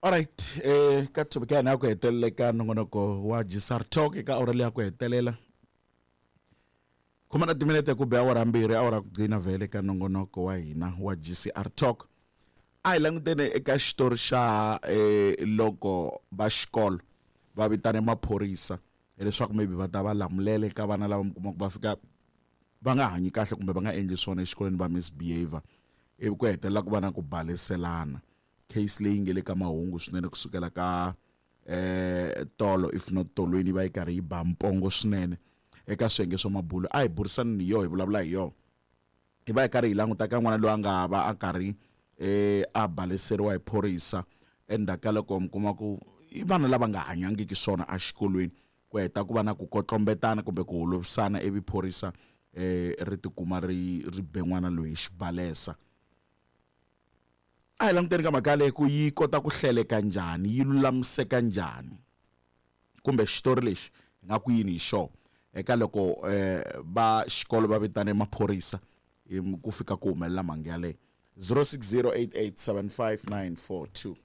Alright, ka topic ya hina ya ku hetelela eka nongonoko wa GCR Talk eka awara leyi ya ku hetelela. Khoma na timinete ku be awara mbirhi awara ku gcina vhele ka nongonoko wa hina wa GCR Talk. A hi languteni eka xitori xa loko va xikolo va vitane maphorisa leswaku maybe va ta va lamulela eka vana lava mi kumaka va fika va nga hanyi kahle kumbe va nga endli swona exikolweni va misbehavior ivi ku hetelela ku va na ku baleselana. Case leyi nge le ka mahungu swinene kusukela ka tolo if not tolweni va yi karhi yi ba mpongo swinene eka swiyenge swa mabulo. A hi burisani ni yo hi vulavula hi yona. Hi va hi karhi hi languta ka n'wana loyi a nga va a karhi a baleseriwa hi phorisa endzhaku ka loko mi kuma ku i vana lava nga hanyangiki swona exikolweni ku heta ku va na ku kotlombetana kumbe ku holovisana ivi phorisa ri tikuma ri ri be n'wana loyi hi xibalesa. A hi languteni ka mhaka yaleyo ku yi kota ku hleleka njhani, yi lulamiseka njhani kumbe xitori lexi hi nga ku yini hi xona eka loko va xikolo va vitane maphorisa ku fika ku humelela mhangu yaleyo. 0608875942.